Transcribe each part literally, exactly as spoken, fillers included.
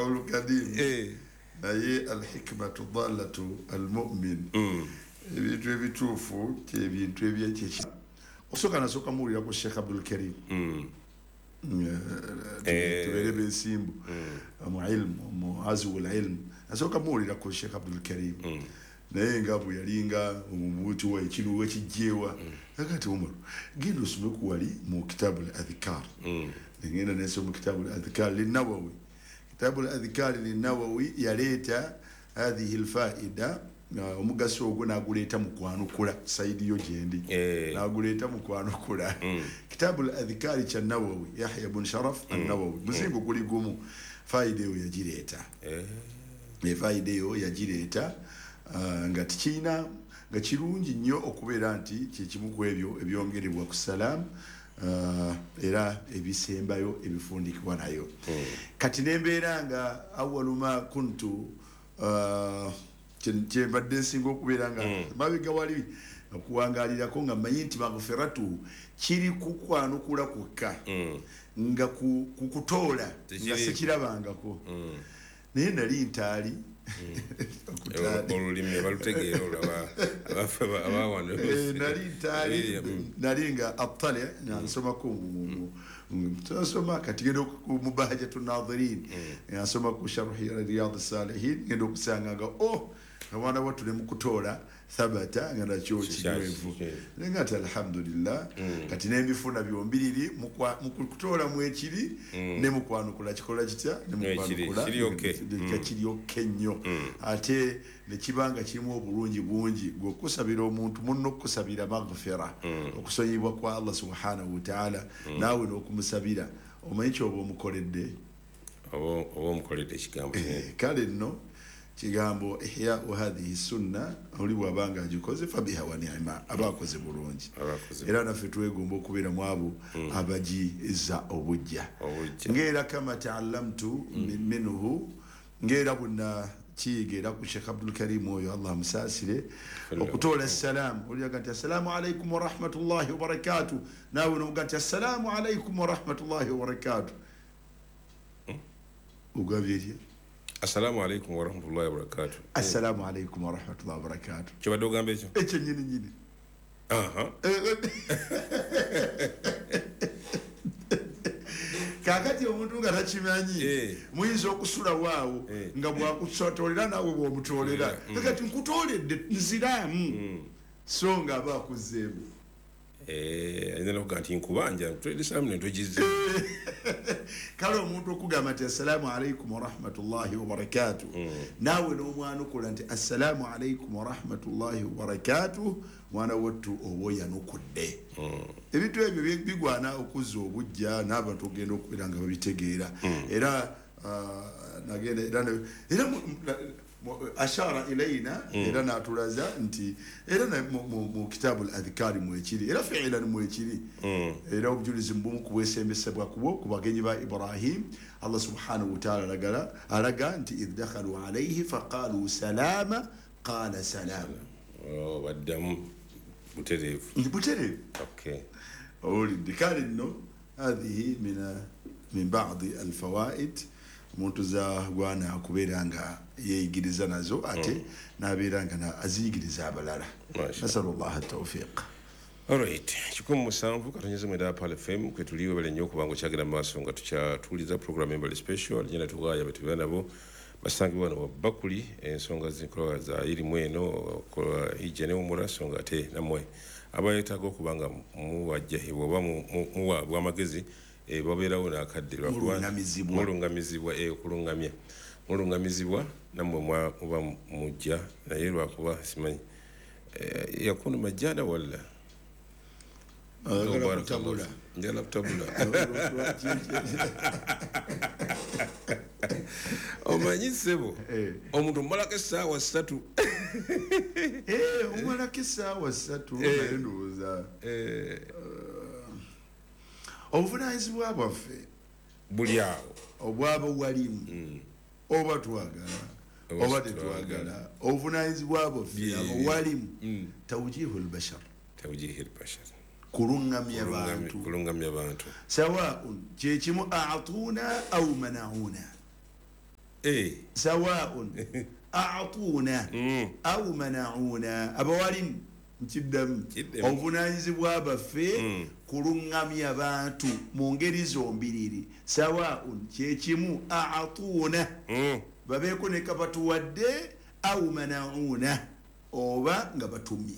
Qawlu kadim naye alhikmatu dallatu almu'min ebintu ebituufu kyebintu ebyekye osooka nasooka muwulira ku Sheikh Abdul Karim tubeere bensimbu mu ilmu mu azwul ilmu nasooka muwulira ku Sheikh Abdul Karim naye nga bwe yalinga omubuuti wa ekiruwa ekijjeewa agati Umar genda osome ku wali mu kitabu al-adhkar ngenda nensoma mu kitabu al-adhkar linnawawi kitabu al-adhkar linnawawi yaleeta hadhihi alfaida omugaso ogwo n'aguleeta mu kwanukula saidi yo gyendi n'aguleeta mu kwanukula kitabu al-adhkar kya Nawawi Yahya ibn Sharaf an-Nawawi muzingo guli gumu faida eyo yagireeta faida eyo yagireeta nga tikina nga kirungi nnyo okubeera nti kyekimu ku ebyo ebyongerebwa ku salaamu era ebisembayo ebifundikibwa nayo kati nembeera nga awalu ma kuntu kyembadde nsinga okubeera nga mabega wali okuwangalirako nga mmanyi nti maghfiratu kiri kukwanukula kwokka nga kukutoola nga sikirabangako naye nali ntaali olulimi balutegeera olaba abawano nali ntaali nali nga attali nsomako nsoma kati genda mu bahajatu nadhirin nsoma ku sharhi riyad salihin genda okusanga nga oh omwana wattu ne mukutoola thabata nga nakyo kinywevu naye nga ati alhamdulillah kati n'ebifuna byombiriri mukutoola mwekiri ne mukwanukula kikola kitya ne mukwanukula kiri okay nnyo ate ne kibanga kirimu obulungi bungi gwe okusabira omuntu munno okusabira maghfira okusonyibwa kwa Allah subhanahu wa ta'ala naawe n'okumusabira omanyi kyoba omukoledde oba omukoledde ekigambo kale nno kigambo ihya'u hadhihi sunna oli bw'abanga agikoze fabiha wa ni'ma abakoze bulungi era naffe twegomba okubeera mu abo abagiza obujja ng'era kama ta'allamtu minhu ng'era buna kiyiga era ku Sheikh Abdul Karim oyo Allah amusaasire okutoola essalaamu oliaga nti assalaamu alaikum warahmatullahi wabarakatuh naawe nomuga nti assalaamu alaikum warahmatullahi wabarakatuh ogabye etya Assalamu alaikum wa rahmatullahi wa barakatuh. Assalamu alaikum wa rahmatullahi wa barakatuh. Kyobadde ogamba ekyo? Ekyo nnyini nnyini. Aha. Kaakati omuntu nga takimanyi muyinza okusula waawo nga bw'akutoolera naawe bw'omutoolera. Kakati nkutooledde nziraamu so nga aba akuzzeemu. Eh, ayinza n'okugamba nti nkubanja nkutoledde salaamu ne ntogizze. Kale omuntu okugamba nti assalaamu alaikum warahmatullahi wabarakatuh naawe n'omwanukula nti assalaamu alaikum warahmatullahi wabarakatuh mwana wattu oba oyanukudde ebintu ebyo bigwana okuzza obujja n'abantu ogenda okubeera nga babitegeera era nagenda era era ashara ilayna era natulaza nti era mu kitabu al-adhkari mwekiri era fi'lan mwekiri era obujulizi mbumu kubwesembesebwa kubwo ku bagenyi ba Ibrahim Allah subhanahu wa ta'ala alagala alaga nti idh dakhalu alayhi faqalu salama qala salam oh baddamu butereevu butereevu okay owulidde kale nno hadhihi min min ba'di alfawaid omuntu zagwana akubeera nga yeeyigiriza nazo ate n'abeera nga aziyigiriza abalala nasalullah tawfiq. Alright, kikumi musanvu katonyeze mwenda Pearl F M kwe tuliwe bale nnyo okubanga okyagenda mu maaso nga tukyatuuliza program embali special alijenda tugaaya betubeera nabo basangibwa wano bakuli ensonga zinkola za irimu eno okola hijja ne umura songa ate nammwe abayetaaga okubanga muwajjahibwa oba muwaabwa amagezi babeerawo n'akadde mulungamizibwa okulungamya mulungamizibwa nammwe muba mujja naye lwakuba simanyi yakunu majjana walla njala kutabula omanyi ssebo omuntu omumalako essaawa ssatu omumalako essaawa ssatu naye ndowooza obuvunaanyizibwa bwaffe buli awo obwaba walimu oba twagala oba tetwagala obuvunaanyizibwa bwaffe abo walimu tawjihu albashar tawjihu albashar kulungamya bantu kulungamya bantu sawaun kyekimu a'tuna au mana'una Eh. Sawaun a'tuna aw mana'una, abawalimu nkiddamu obuvunaanyizibwa baffe kuluŋŋamya abantu mu ngeri zombiriri. Sawaun kyekimu, a'tuna babeeko ne kabatuwadde, aw mana'una oba nga batumye.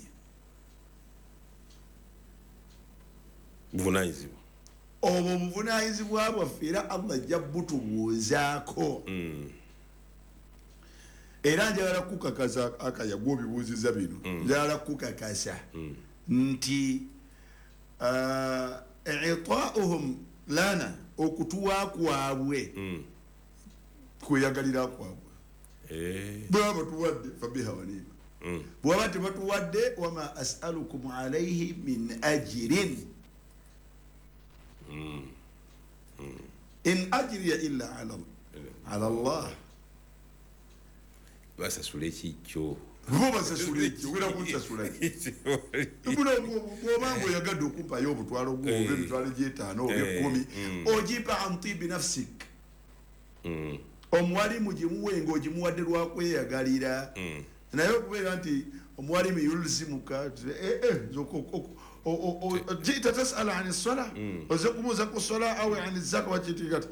Buvunaanyizibwa obwo obuvunaanyizibwa bwaffe era Allah ajja butubuuzaako. Era njagala kukakasa akaya gw'obibuuziza bino, njagala kukakasa nti i'taa'uhum lana, okutuwa kwabwe kweyagalira kwabwe. Bwaba batuwadde fabiha wanima, bwaba tebatuwadde wama as'alukum alayhi min ajrin in ajriya illa ala ala Allah. Basasula ekikyo, bo basasula ekyo, ogenda kunsasula ki? Bw'obanga oyagadde okumpayo obutwalo gwo oba emitwalo gy'etaano oba ekkumi, ogimpa an tibi nafsik. Omuwalimu gimuwe ng'ogimuwadde lwakweyagalira. Naye okubeera nti omuwalimu yulzimuka jita tasala ani sola, oze kumuuza ku sola awe ani zaka wakitikati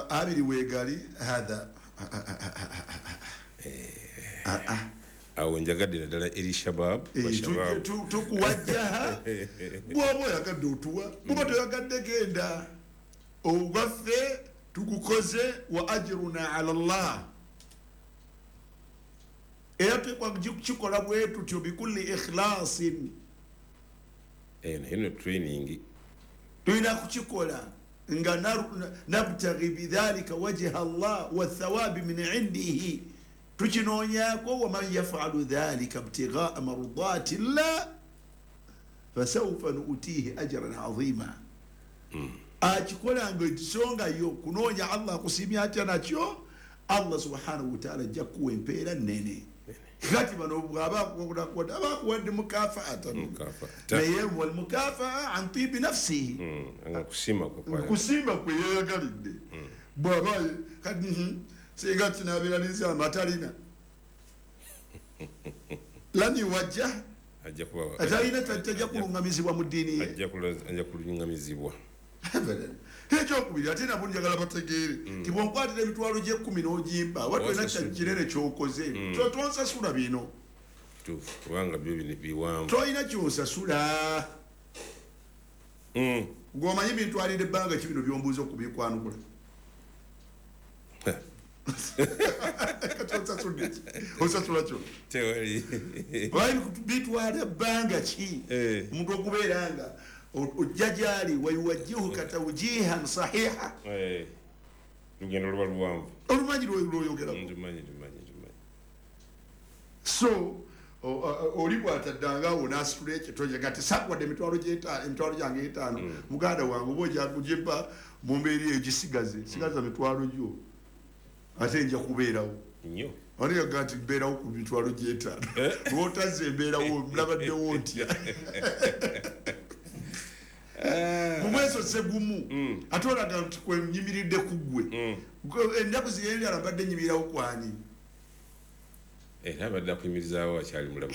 abiri weegali hatha. Awo njagadde naddala eri shabab, tukuwajjaha bw'oba oyagadde otuwa, bw'oba toyagadde genda ogwaffe tugukoze, wa ajruna ala Allah. Era tukikola bwe tutyo bikulli ikhlasin. Eno training tulina kukikola nga nabtaghi bidhalika wajha Allah wathawabi min indihi, tukinoonyaako waman yafalu dhalika ibtighaa mardati llah fasawfa nuutihi ajran azima. Akikola nga ensonga yo kunoonya Allah akusiimye atya nakyo, Allah subhanahu wataala ajja kuwa empeera nnene. Kati bano bw'aba abakuwadde mukafaatan, naye walmukafaa an tibi nafsihi, kusiima kwe yeeyagalidde. Bw'aba kati singa kinabeera n'ensamba atalina lan yuwajjah, atalina tajja kuluŋŋamizibwa mu ddiini ye, ajja kuluŋŋamizibwa. Ekyokubiri ate nabo njagala bategeere nti bw'onkwatira emitwalo gy'ekkumi n'ogimba oba tolina kinene ky'okoze, tonsasula bino, kubanga byo biwanvu, tolina ky'onsasula. Ng'omanyi bintwalira ebbanga ki bino by'ombuuza okubikwanukula? Kati onsasudde ki? Onsasula kyo bitwala ebbanga ki omuntu okubeera nga ojja gyali wayuwajjihuka tawjihan sahiha. Lugendo luba luwanvu, olumanyi lwoyogerako. So oli bw'ataddangaawo n'asitula ekitonya gati sakuwadde emitwalo emitwalo gyange etaano, muganda wange oba ojja kugimpa mu mbeera eyo gisigaze, sigaza mitwalo gyo ate nja kubeerawo nnyo. Ani yaga nti mbeerawo ku mitwalo gy'etaano, lw'otazze embeerawo nabaddewo ntya? Mumweso gumu ate olaga nti kwenyimiridde ku ggwe. Ennaku ziyendala mbadde nyimirirawo kwani? Era abadde akuyimirizaawo akyali mulamu.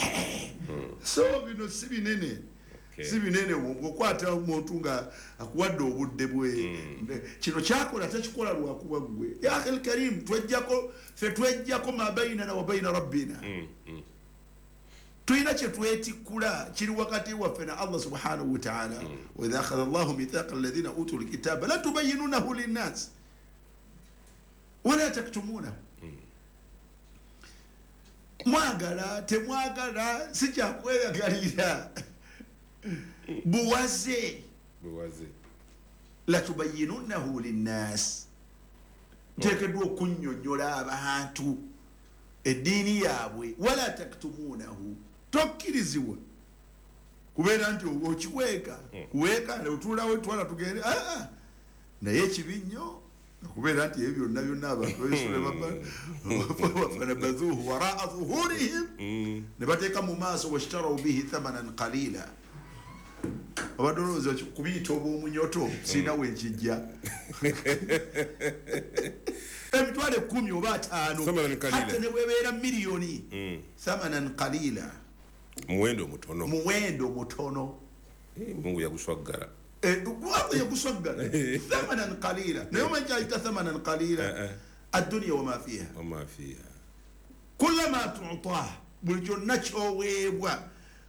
So bino si binene, si binene. Bw'okwata omuntu nga akuwadde obudde bwe, kino kyakola takikola lwakuba ggwe. Ya akhi alkarim, twejjako ffe twejjako ma bainana wa baina rabbina, tulina kye twetikkula kiri wakati waffe na Allah subhanahu wa ta'ala. Wa idha akhadha Allahu mithaqa alladhina utul kitaba la tubayyinunahu linnas wala taktumunahu. Mwagala temwagala si kyakweyagalira, buwaze buwaze la tubayyinunahu linnas, nteekeddwa okunnyonnyola abantu eddiini yaabwe. Wala taktumunahu, tokkirizibwa kubeera nti okiweeka kuweeka otuulawo twala tugende. Naye ekibi nnyo okubeera nti ebyo byonna byonna abantu babisula fanabadhuuhu waraa dhuhurihim, ne bateeka mu maaso washtaraw bihi thamanan qalila. Obadde olowooza kubiyita obw'omunyoto sirina wenkijja. Emitwalo Emitwalo ekkumi oba ataano, hatta ne bwebeera miliyoni, thamanan qalila, muwendo mutono, muwendo mutono. Mungu yaguswaggala, Allah yaguswaggala. Thamanan qalila, naye omanyi ayita thamanan qalila addunya wama fiha, wama fiha kullama tu'tah, buli kyonna ky'oweebwa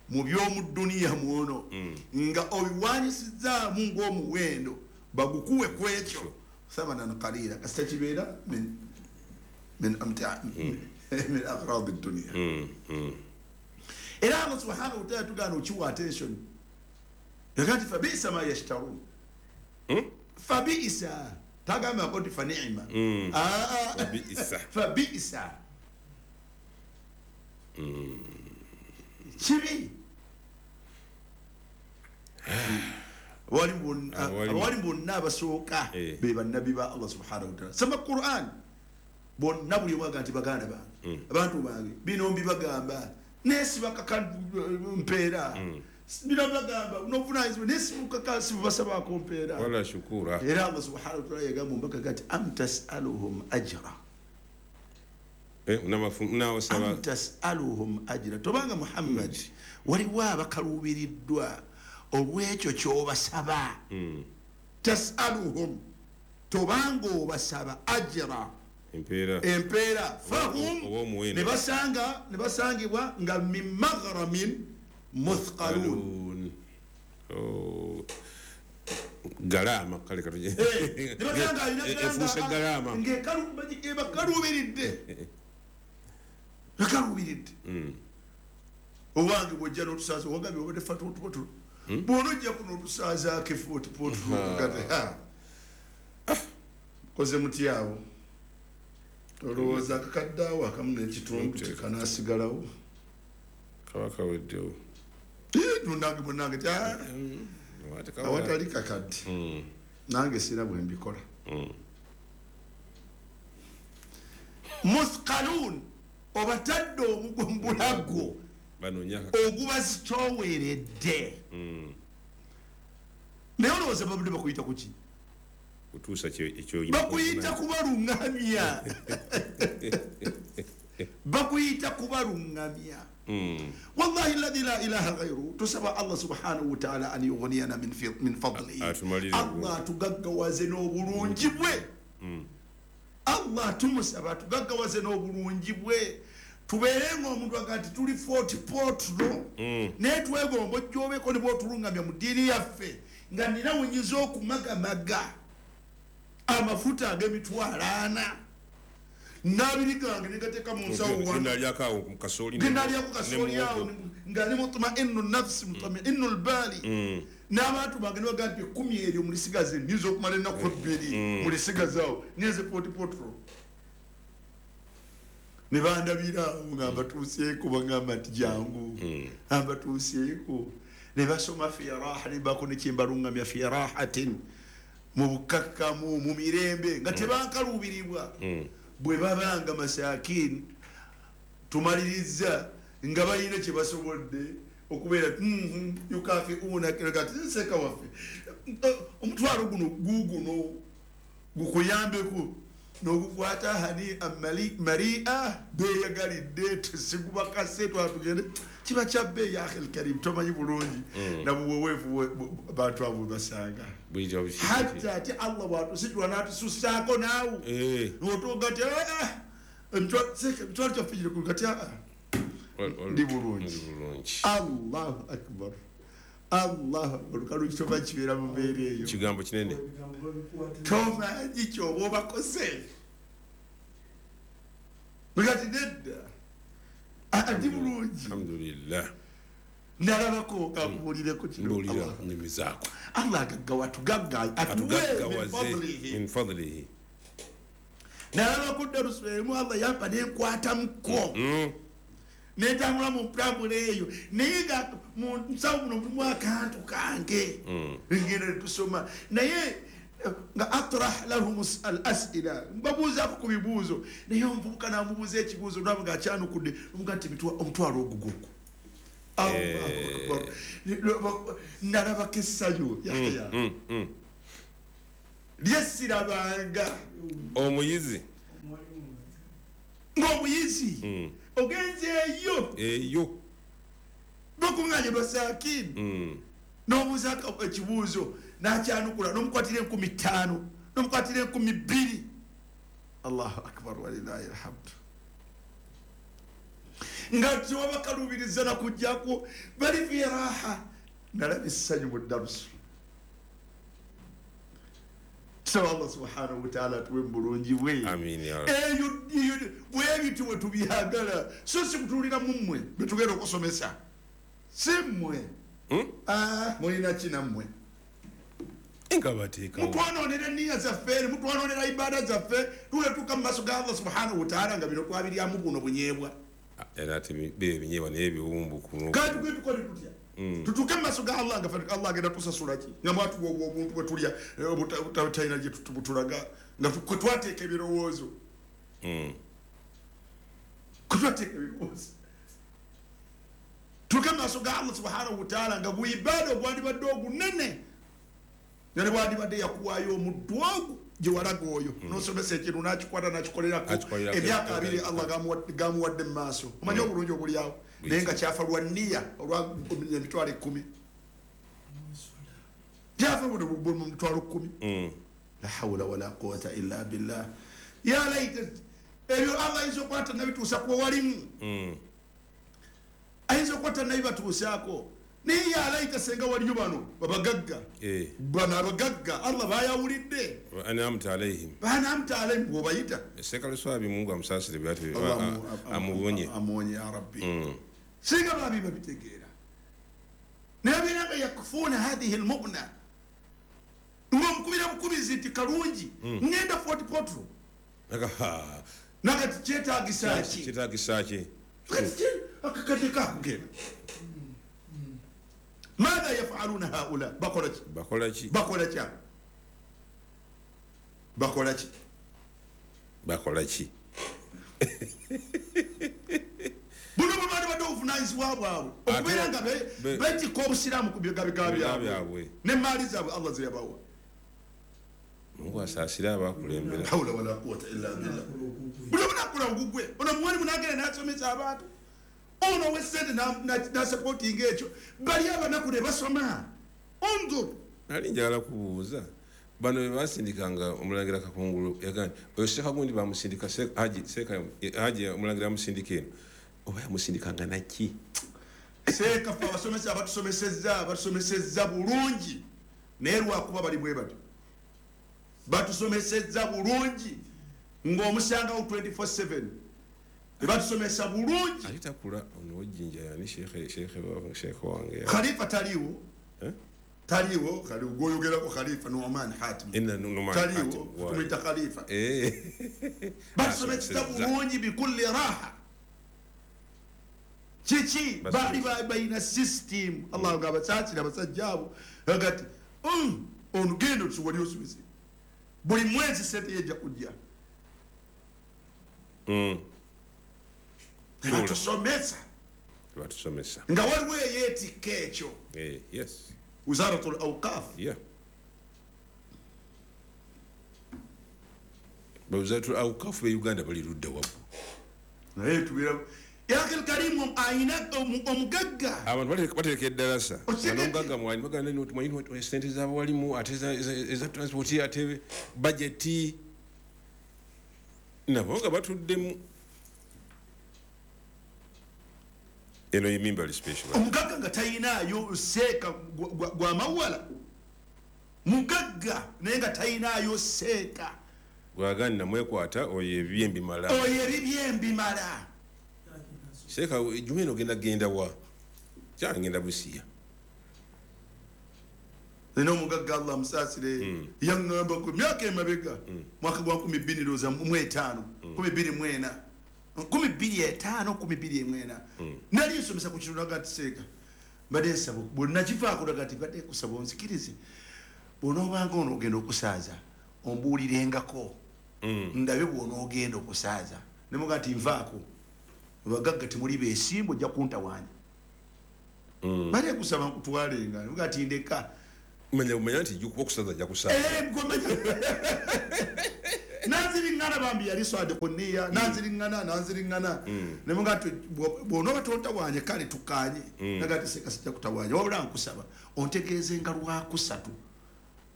mu by'omu dduniya mwono nga obiwanyisizaamu ng'omuwendo bagukuwe ku ekyo thamanan qalila, kasita kibeera min min amta min aghrad ad-dunya. Era Allah subhanahu wa ta'ala tugaana okiwa attention, yakati fabisa ma yashtarun, fabisa tagambako nti fa ni'ma, fabisa fabisa kibi. Abawali bonna abasooka be bannabbi ba Allah subhanahu wa ta'ala. Soma Quran bonna buli omu agamba nti baganda bange, abantu bange, bino mbibagamba nesibakaka mpeera, bino mbibagamba n'obuvunaanyizibwa nesibukaka sibubasabaako mpeera wala shukura. Era Allah subhanahu wa ta'ala yagamba omubaka kati am tas'aluhum ajra, am tas'aluhum ajra, tobanga Muhammad waliwo abakaluubiriddwa olw'ekyo ky'obasaba. Tas'aluhum, tobanga obasaba ajra, empeera, empeera, fahum ne basanga ne basangibwa nga min maghramin muthqalun. Galama kale katuje ne basanga efuuse galama ng'ekaluubiridde ekaluubiridde. Owange bw'ojja n'otusaaza owagambye obadde fa tuotuotu bw'onojja kuno otusaazaako efuotupotu koze muti awo olowooza akakadde awo akamu n'ekitundu tekanaasigalawo kaba kaweddewo. Nange bwennange ti awatali kakadde nange sira bwe mbikola. Muthqalun, obatadde omugumbulagwo ogubazitooweredde. Naye olowooza babadde bakuyita ku ki? Bakuyita kubaluŋŋamya, bakuyita kubaluŋŋamya. Wallahi alladhi la ilaha ghayru, tusaba Allah subhanahu wa ta'ala an yughniyana min fadlihi, Allah atugaggawaze n'obulungi bwe. Allah tumusaba atugaggawaze n'obulungi bwe, tubeere ng'omuntu aga nti tuli forty potro, naye twegomba ojjoobeko ne bw'otulungamya mu ddiini yaffe nga nina wenyiza okumagamaga amafuta ag'emitwalo ana n'abiri gange ne gateeka mu nsawo wano, genalyako kasooli awo nga ndi mutmainu nafsi mutmainu lbaali, n'abantu bange ne bagamba nti ekkumi eryo mulisigaze, nnyinza okumala ennaku ebbiri mulisigaze awo ngenze forty potro. Ne bandabira awo nga mbatuuseeko, bagamba nti jangu ambatuuseeko, ne basoma fi raha, ne baako ne kyembalungamya fi rahatin, mu bukakkamu mu mirembe nga tebankaluubirirwa. Bwe babanga masakin tumaliriza nga balina kye basobodde okubeera yukafiuna kati nseka waffe omutwalo guno guuguno gukuyambeko n'ogukwata hani maria beeyagalidde tesigubakase twatugende kiba kya bbeeyi akhil karim tomanyi bulungi nabuweweevu bantu abo basanga hatta ati Allah bw'atusitula n'atusussaako naawe n'otuuka ti emitwalo kyaffe giri ku kati ndi bulungi. Allahu akbar, Allahu akbar. Kalungi tomanyi kibeera mu mbeera eyo, kigambo kinene tomanyi ky'oba obakoze kati nedda ndi bulungi. Alhamdulillah. Nalabako kakubuulireko kino nyumizaako. Allah agaggawa atugagga atuwe min fadlihi. Nalabako darusu emu Allah yampa nenkwatamuko netambula mu ntambula eyo, naye nga mu nsawo muno mulimu akantu kange ngenda tusoma naye nga atrah lahum al as'ila, mbabuuzaako ku bibuuzo, naye omuvubuka n'amubuuza ekibuuzo naba nga akyanukudde omuga nti omutwalo ogugwo. Nalabako essanyu Yahya lyesirabanga omuyizi Ng'omuyizi mm. ogenzeeyo eyo bakuŋŋaanye basaakini mm. n'obuuza ekibuuzo n'akyanukula n'omukwatira enkumi ttaano n'omukwatira enkumi bbiri. Allahu akbar walillahi alhamdu. Nga tewabakaluubiriza nakujjako bali fi raha. Nalaba essanyu mu ddarusu. Tusaba Allah subhanahu wataala atuwe mu bulungi bwe. Eyo bwebityo bwe tubyagala, so si kutuulira mu mmwe bwe tugenda okusomesa, si mmwe. Mulina ki nammwe? Mutwanoonera enniya zaffe, mutwanoonera ibaada zaffe, tuletuuka mu maaso ga Allah subhanahu wataala nga bino twabiryamu buno bunyeebwa. Era ate binyeebwa naye ebiwumbu kuno. Kati tugende tukole tutya? Tutuuke mu maaso ga Allah nga Allah agenda tusasula ki? Nga mwatuwa obuntu bwe tulya obutalina gye butulaga, nga kwe twateeka ebirowoozo. Kwe twateeka ebirowoozo. Tutuuke mu maaso ga Allah subhanahu wataala nga buibaada ogwandibadde ogunene, nga ne bwandibadde yakuwaayo omuddu ogwo gye walaga oyo n'osomesa ekintu n'akikwata n'akikolerako emyaka abiri Allah gamuwadde mu maaso. Omanyi obulungi obuli awo, naye nga kyafa lwa nniya olwa emitwalo ekkumi, kyafa mu mitwalo kkumi. La hawula wala quwata illa billah. Ya laita ebyo Allah ayinza okukwata nabituusa kuba walimu, ayinza okukwata nabibatuusaako. Naye ya laita senga waliyo bano babagagga, bano abagagga Allah bayawulidde. An'amta alayhim, banamta alayhim bw'obayita. Sekaluswabi Mungu amusaasire byati amuwonye, amuwonye ya Rabbi. Singa babi babitegeera, naye beera nga yakufuuna hathihi almu'na, ng'omukubira bukubizi nti kalungi ngenda Fort Portal nakati kyetaagisa ki? Kyetaagisa ki? Akakadde kakugenda. Madha yafaluna haula? Bakola ki? Bakola ki? Bakola ki? Bakola ki? Bakola ki? Buno bwe baali badde obuvunaanyizibwa bwabwe okubeera nga beetikka obusiraamu ku bigabega byabwe n'emmaali zaabwe Allah ze yabawa. Mungu asaasire abakulembera. Hawula wala quwwata illa billah. Buno bunakola ogugwe ono muwalimu n'agenda n'asomesa abantu, ono ow'essente n'asapootinga ekyo, bali abanaku ne basoma. Undur. Nali njagala kubuuza bano be basindikanga omulangira Kakungulu, yagambye oyo Sekagundi bamusindika Haji Seka Haji omulangira amusindika eno, oba yamusindikanga naki? Seeka ffe abasomesa abatusomesezza abatusomesezza bulungi, naye lwakuba bali bwe batyo batusomesezza bulungi ng'omusangawo twenty-four seven batusomesa bulungi. Ate takula ono w'ejjinja yani Sheikh Sheikh Sheikh wange Khalifa taliiwo, taliiwo gwoyogerako Khalifa Nu'man Hatim taliiwo, tumuyita Khalifa. Batusomesa bulungi bikulli raha. Kiki baali balina system. Allah nga abasaasira abasajja abo agati ono genda otuwali osomese buli mwezi sente yejja kujja. Batusomesa, batusomesa nga waliwo eyeetikka ekyo. Yes, Wizaratul Awqaf. Yeah, Wizaratul Awqaf be Uganda bali ludda wabu, naye tubeera Yakil Karimu ayina omugagga. Abantu bateeka eddalasa omugagga mwali baganda nti sente z'abawalimu ate eza transport ate bajeti, nabo nga batuddemu. Eno ye Mimbali special. Omugagga nga tayinaayo seeka gwa mawala, mugagga naye nga tayinaayo seeka gwagani namwekwata oyo ebibye mbimala, oyo ebibye mbimala. Seeka juma eno genda genda wa kyangenda Busia. Nina omugagga Allah amusaasire yaŋŋamba ku myaka emabega mwaka gwa nkumi bbiri ndowooza mu etaano nkumi bbiri mu ena nkumi bbiri etaano nkumi bbiri mwena nali nsomesa ku kintu naga nti seeka mbadde nsaba bwe nakivaako naga nti mbadde nkusaba onzikirize bw'onoobanga onoogenda okusaaza ombuulirengako ndabe bw'onoogenda okusaaza. Ne muga nti nvaako abagagga temuli beesimbu ojja kuntawaanya. Mbadde nkusaba nkutwalenga. Ne muga nti ndeka. Manya manya nti okusaza ajja kusaaza. Eh, Nanziringana bambi yali swade kuniya nanziringana nanziringana nemunga nti bw'onooba tontawanye kale tukanye nagati seka sijja kutawanya wabula nkusaba ontegeeze nga lwakusatu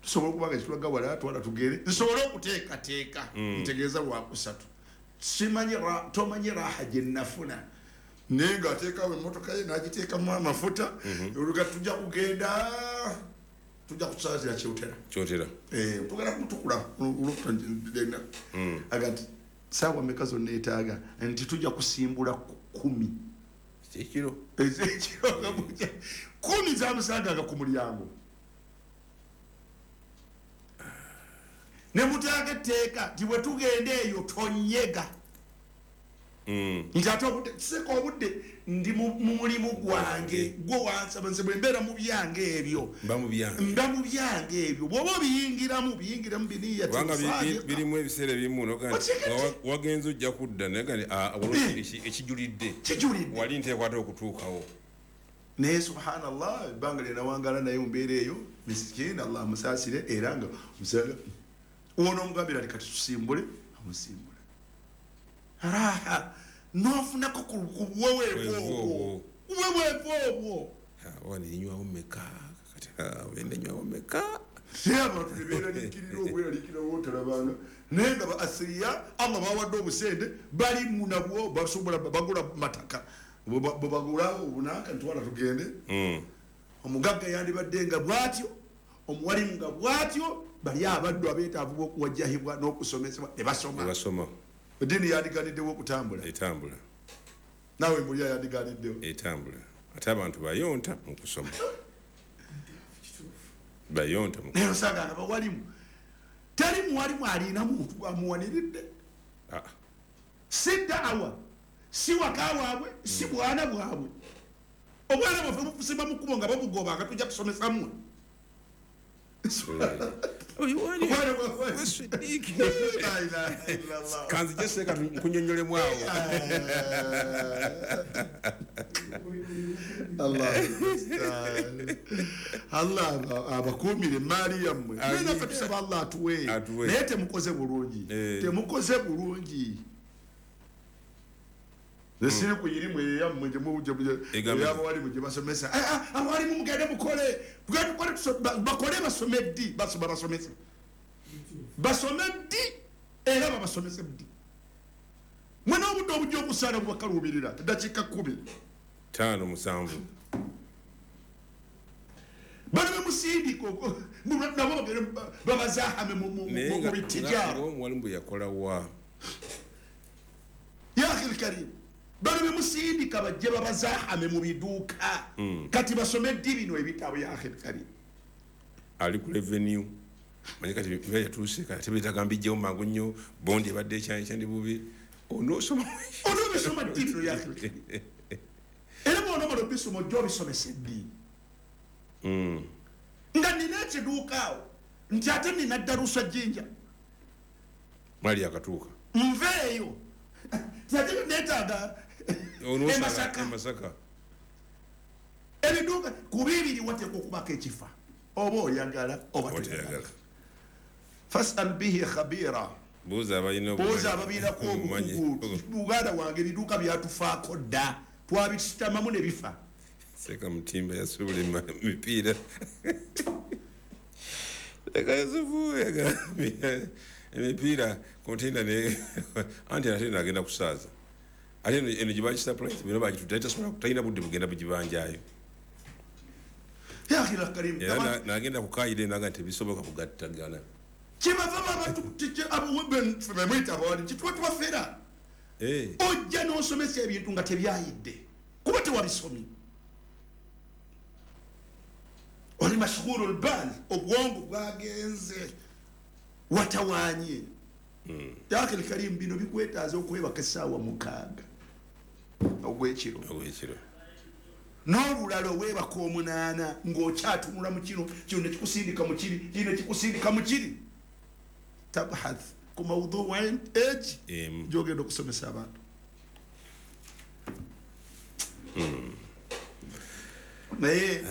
tusobola okuba nga kitulaga wala twala tugere nsobole okuteekateeka ntegeeza lwakusatu simanyi tomanyi raha gye nnafuna naye ng'ateekawo emmotoka ye n'agiteekamu amafuta oluga tujja kugenda tujja kusaasira kyotera kyotera eh tugenda kutukula olukutandena agati saawa mmeka zonna neetaaga nti tujja kusimbula kumi ekiro ekiro kumi zamusanganga ku mulyango ne mutaaga etteeka nti bwe tugenda eyo tonyega nti ate obudde kiseka obudde ndi mu mulimu gwange gwe wansaba nze bwe mbeera mu byange ebyo mba mu byange mba mu byange ebyo bw'oba obiyingiramu biyingiramu biniya kubanga birimu ebiseera ebimu wagenze ojja kudda naye nga ekijulidde kijulidde wali nteekwata okutuukawo naye subhanallah ebbanga lye nawangala naye mu mbeera eyo misikini Allah amusaasire era nga omusanga ono omugambira nti kati tusimbule amusimbule raha nofunako ku buweweevu obwo buweweevu obwo waninywawo mmeka kati wenda nywawo mmeka naye abantu ne beeraliikirira obweraliikirira bwotalabanga naye nga ba asiriya Allah bawadde obusente bali munabwo basobola bagula mataka bwe bagula obunanka ntwala tugende omugagga yandibadde nga bw'atyo omuwalimu nga bw'atyo bali abaddu abeetaavu b'okuwajjahibwa n'okusomesebwa ne basoma basoma eddiini yandiganiddewo okutambula etambula naawe mbulya yandiganiddewo etambula ate abantu bayonta mu kusoma bayonta mu naye osanga nga bawalimu teri muwalimu alina muntu amuwaniridde si daawa si waka waabwe si bwana bwabwe obwana bwaffe bufusimba mu kkubo nga babugoba nga tujja kusomesa mmwe kanzije seeka nkunyonnyolemu awo Allah abakuumire emaali yammwe naye naffe tusaba Allah atuwe naye temukoze bulungi temukoze bulungi siri ku irimu eyammwe ey'abawalimu gye basomesa abawalimu mugende mukole tugende tukole bakole basome ddi basoma basomese basome ddi era babasomese ddi mwena obudde obujja okusaala bubakaluubirira dakiika kkumi ttaano musanvu bano bemusindika nabo bagende babazahame mu bitijaro omuwalimu bwe yakola wa ya akhi lkarim bano bemusindika bajje babazahame mu biduuka kati basome ddi bino ebitabo ya akhi lkarim ali ku revenue manyi kati biba yatuuse kati beetaaga mbijjewo mangu nnyo bondi ebadde ekyandi bubi onoosoma onoobisoma ddi bino ya akhi lkarim era bw'onoomala obisoma ojja obisomesa eddi nga nina ekiduuka awo nti ate nina ddalusa jjinja mwali akatuuka nveeyo ti ate neetaaga emasaka ebiduuka ku bibiri wateekwa okubako ekifa oba oyagala oba toyagala fasal bihi khabira buuza ababiinako obukugu muganda wange ebiduuka byatufaako dda twabisitamamu ne bifa seeka mutimba yasuubula emipiira leka yusufu yagambye emipiira konteina ne anti ate nagenda kusaaza ate eno gye bagisapulayizi bino bagitudde tasobola talina budde bugenda bugibanjayo era nagenda kukayira naga nti tebisoboka kugattagana kyebava babamwita abawali kituba tubafera ojja n'osomesa ebintu nga tebyayidde kuba tewabisomye oli mashghulu lbal obwongo bwagenze watawanye ya akhi lkarim bino bikwetaaza okwebaka essaawa mukaaga ogwekiro ogwekiro n'olulala oweebaka omunaana ng'okyatunula mu kino kino nekikusindika mu kiri kino nekikusindika mu kiri tabhath ku maudhu egi gyogenda okusomesa abantu naye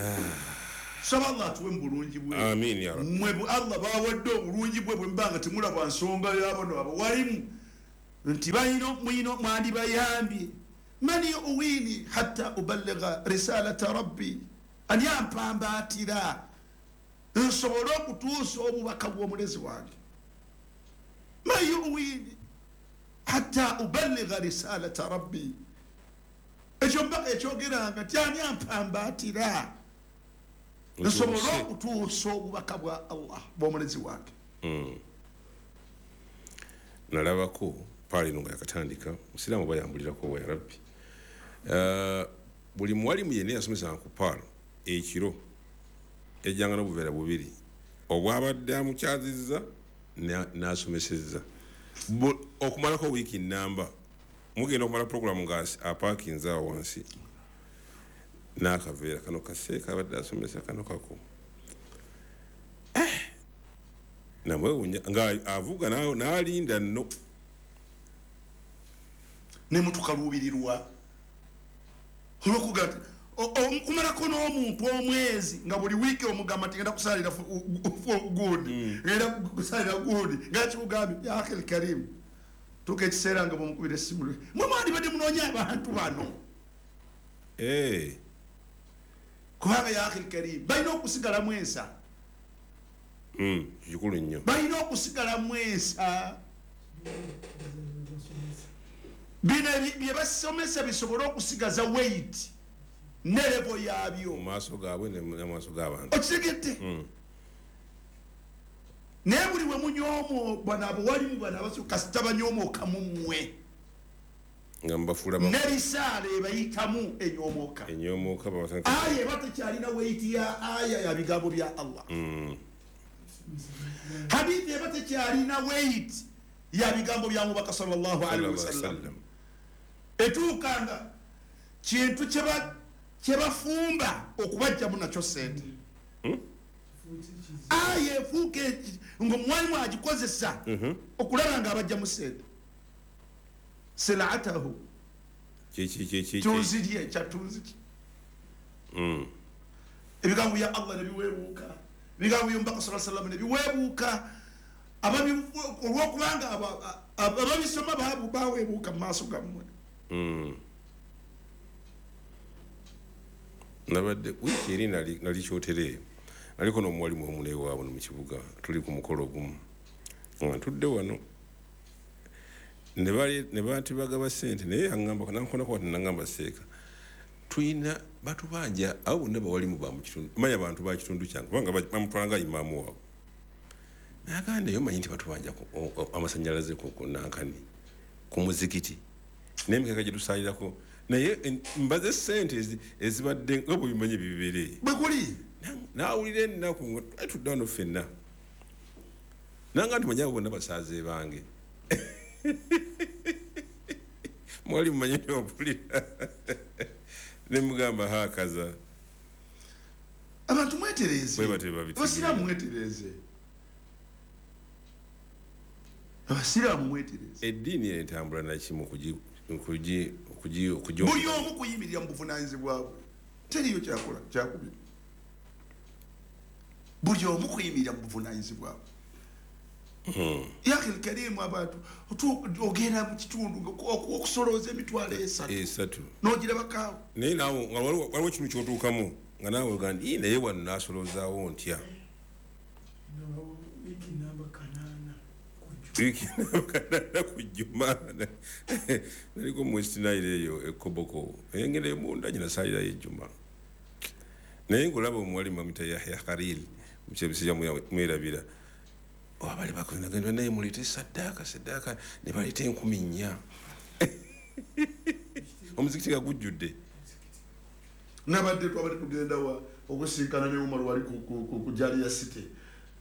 Saba Allah atuwe mu bulungi bwe. Amin ya Rabbi. Mwe Allah bawadde obulungi bwe bwe mbanga temulaba nsonga y'abano abo walimu nti balina mwino mwandibayambye. Man yuwini hatta uballigha risalata rabbi, ani ampambaatira nsobole okutuusa obubaka bw'omulezi wange. Man yuwini hatta uballigha risalata rabbi, ekyo mbaka ekyogeranga nti ani ampambaatira nsobole okutuusa obubaka bwa Allah bw'omulezi wange. Nalabako paali nga yakatandika musiraamu bayambulirako wa ya Rabbi. Uh, buli mwalimu yenna yasomesanga ku paalo ekiro yajjanga n'obuveera bubiri, obwabadde amukyazizza n'asomesezza okumalako wiiki nnamba. Mugenda okumala puroguramu nga apaakinze awo wansi n'akaveera kano kaseeka abadde asomesa kano kako eh! Namwewuunya nga avuga n'alinda nno ne mutukaluubirirwa olwokuga okumalako n'omuntu omwezi nga buli wiiki omugamba nti ngenda kusalira gundi, ngenda kusalira gundi, nga kikugambye ya akhil karim. Tuuka ekiseera nga bwomukubira essimu, mwe mwandibadde munoonya abantu bano. Kubanga ya akhil karim balina okusigalamu ensa, kikulu nnyo, balina okusigalamu ensa. Bino bye basomesa bisobole okusigaza weight ne level yaabyo mu maaso gaabwe ne mu maaso g'abantu. Okitegedde? Naye buli we munyoomo bano abawalimu bano abasooka kasita banyoomooka mu mmwe nga mubafuula ne risaala ebayitamu enyoomooka enyoomooka aya eba tekyalina weight ya aya ya bigambo bya Allah. Hadithi eba tekyalina weight ya bigambo bya Mubaka sallallahu alaihi wasallam. Etuukanga kintu kyebafumba okubajjamu nakyo ssente. Aya efuuka ng'omwalimu agikozesa okulaba nga abajjamu ssente. Silaatahu tunzirye kyatunziki. Ebigambo bya Allah ne biweebuuka, ebigambo by'Omubaka sallallahu alaihi wasallam ne biweebuuka. Olwokubanga ababisoma baweebuuka mu maaso gammwe. Nabadde wiiki eri nali kyotere, naliko n'omuwalimu omu newaabwe mu kibuga, tuli ku mukolo ogumu nga ntudde wano ne bantu bagaba ssente, naye aŋŋamba nankonako wati naŋŋamba seeka tulina batubanja abo bonna bawalimu ba mu kitundu, manya bantu ba kitundu kyange kubanga bamutwala nga imaamu waabwe. Nagamba naye omanyi nti batubanja amasannyalaze ku nankani ku muzikiti n'emikeka gye tusaalirako, naye mbaze ssente ezibadde nga bwebimanyi bibeere bwe kuli. Naawulira ennaku nga tudde wano ffenna nanga nti manyi abo bonna basaaze bange. Mwali mumanyi ntiwampulira ne mugamba haakaza abantu mwetereeze, abasiraamu mwetereeze, abasiraamu mwetereeze. Eddiini entambula nakimu buli omu kuyimirira mu buvunaanyizibwa bwe, teriyo kyakola kyakubiri. Buli omu kuyimirira mu buvunaanyizibwa bwe. Ya akhil karim, abantu ogenda mu kitundu okusolooza emitwalo esatu esatu n'ogirabakaawo, naye naawe nga waliwo ekintu ky'otuukamu nga naawe oga nti naye wano naasoloozaawo ntya wiiki kanaana ku Juma. Naliko mu West Nile eyo e Koboko, engenda munda gye nasaalirayo ejjuma, naye ng'olaba omuwalimu bamuyita Yahya Khalil mukyebisija mwerabira, abali bakozinagenda naye muleete saddaaka saddaaka ne baleeta enkumi nnya omuzikiti nga gujjudde. Nabadde twabadde tugenda wa okusinkana ne Umar wali ku Jalia City,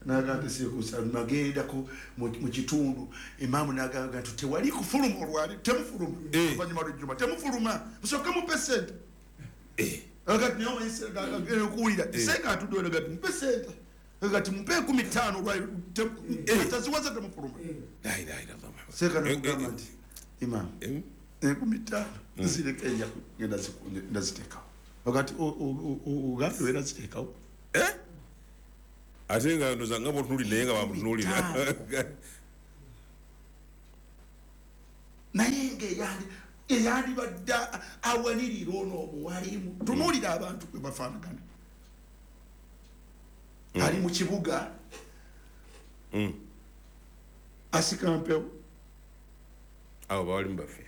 naga nti sikusa nagendako mu kitundu, imaamu nagamba nti tewali kufuluma olwali temufuluma oluvannyuma lw'ejjuma temufuluma musooke mupe ssente. Agati naye omanyi okuwulira seeka atudde wano gati mupe ssente, agati mupe enkumi ttaano olwali taziwaza temufuluma. Seeka nakugamba nti imaamu enkumi ttaano zireka enja ngenda ziteekawo. Agati ogambye era ziteekawo. Eh? Ate nga ndoza nga bw'otunuulira naye nga bamutunuulira. Naye nga eyandibadde awanirira ono omuwalimu. Tunuulira abantu bwe bafaanagana. Ali mu kibuga asika mpewo. Abo bawalimu baffe.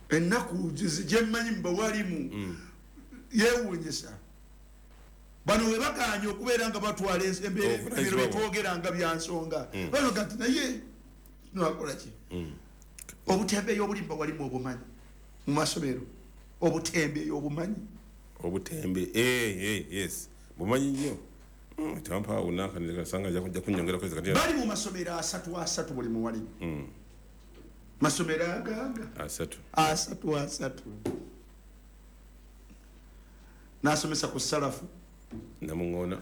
Ennaku gyemmanyi mu bawalimu yeewuunyisa. Bano we bagaanye okubeera nga batwala embeera betwogera nga bya nsonga. Banoga nti naye nakola ki? Obutembeeyi obuli mu bawalimu obumanyi mu masomero. Obutembeeyi obumanyi. Obutembe, eh, eh, yes. Bumanyi nnyo. Tampa unaka nikasanga ja kunyongera kwezi kati. Bali mu masomero asatu asatu buli muwalimu. Masomero agaga asatu. Asatu asatu. Nasomesa ku salafu. Namungona.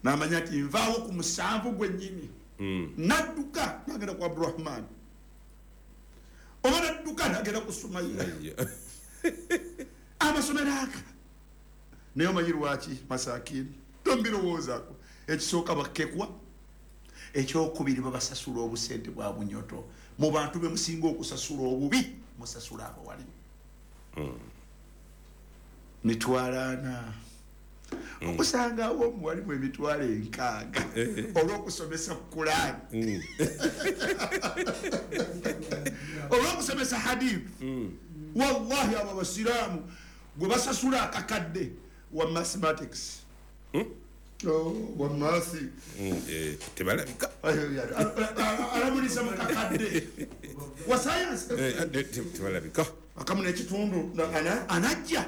Namanya nti nvaawo ku musanvu gwennyini. Mm. Nadduka nagenda ku Abdurrahman. Oba nadduka nagenda ku Sumaya. Amasomero aga. Naye omanyi lwaki masakini? Tombirowoozaako. Ekisooka bakekwa, ekyokubiri babasasula obusente bwa bunyoto. Mu bantu be musinga okusasula obubi, musasula abawalimu. Mm. Mitwalo ana. Okusangawo omuwalimu emitwalo enkaaga olw'okusomesa Kulaani, olw'okusomesa hadith. Wallahi abo abasiraamu gwe basasula akakadde wa mathematics. Oh, wa mathi. Tebalabika. Alamulisa mu kakadde wa science. Tebalabika. Akamu n'ekitundu anajja.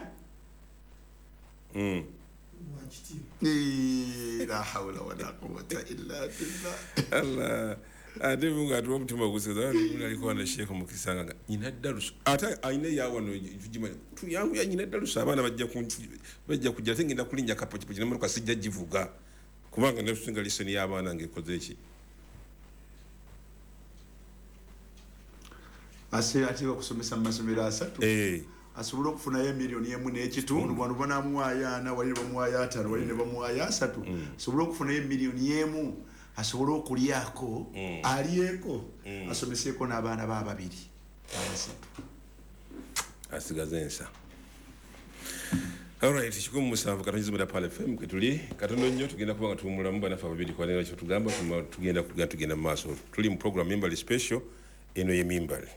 La hawla wala quwwata illa billah. Allah. Ate munga atuwa omutima oguseza aliko na Sheikh Mukisa nga nyina dalusu ate ayina yawano tujimanyi tuyangu ya nyina dalusu abaana bajja bajja kujja ate ngenda kulinnya kapochipochi n'emmotoka sijja givuga kubanga netusinga lisoni y'abaana ng'ekoze eki ase ate bakusomesa mu masomero asatu eh asobola okufunayo emiliyoni emu n'ekitundu wano banamuwaayo ana wali bamuwaayo ataano wali ne bamuwaayo asatu asobola okufunayo emiliyoni emu asobola okulyako alyeko asomeseeko n'abaana ba babiri abasatu asigaze ensa. Alright, kikumi musanvu katonyizi muda Pal F M kwe tuli katono nnyo tugenda kuba nga tuwummulamu bannaffe ababiri kwanira kye tugamba tugenda tugenda mu maaso. Tuli mu program Mimbali Special eno ye Mimbali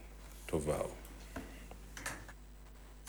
tovaawo.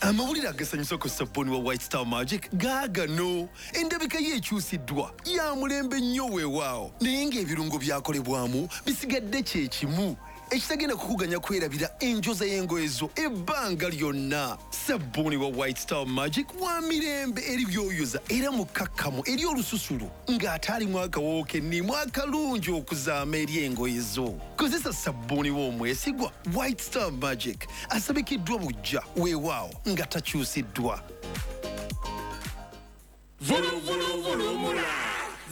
Amawulire agasanyusa ku sabbuuni wa White Star Magic gaagano. Endabika ye ekyusiddwa ya mulembe nnyo weewaawo, naye ng'ebirungo byakolebwamu bisigadde kye kimu ekitagenda kukuganya kwerabira enjoza y'engoye zo ebbanga lyonna. Sabbuuni wa White Star Magic wa mirembe eri byoyoza era mukkakkamu eri olususu ng'ate alimu akawoowo kennimu akalungi okuzaama eri engoye zo. Kozesa sabbuuni w'omwesigwa White Star Magic asabikiddwa buggya weewaawo nga takyusiddwa. Vulu vulu vulumula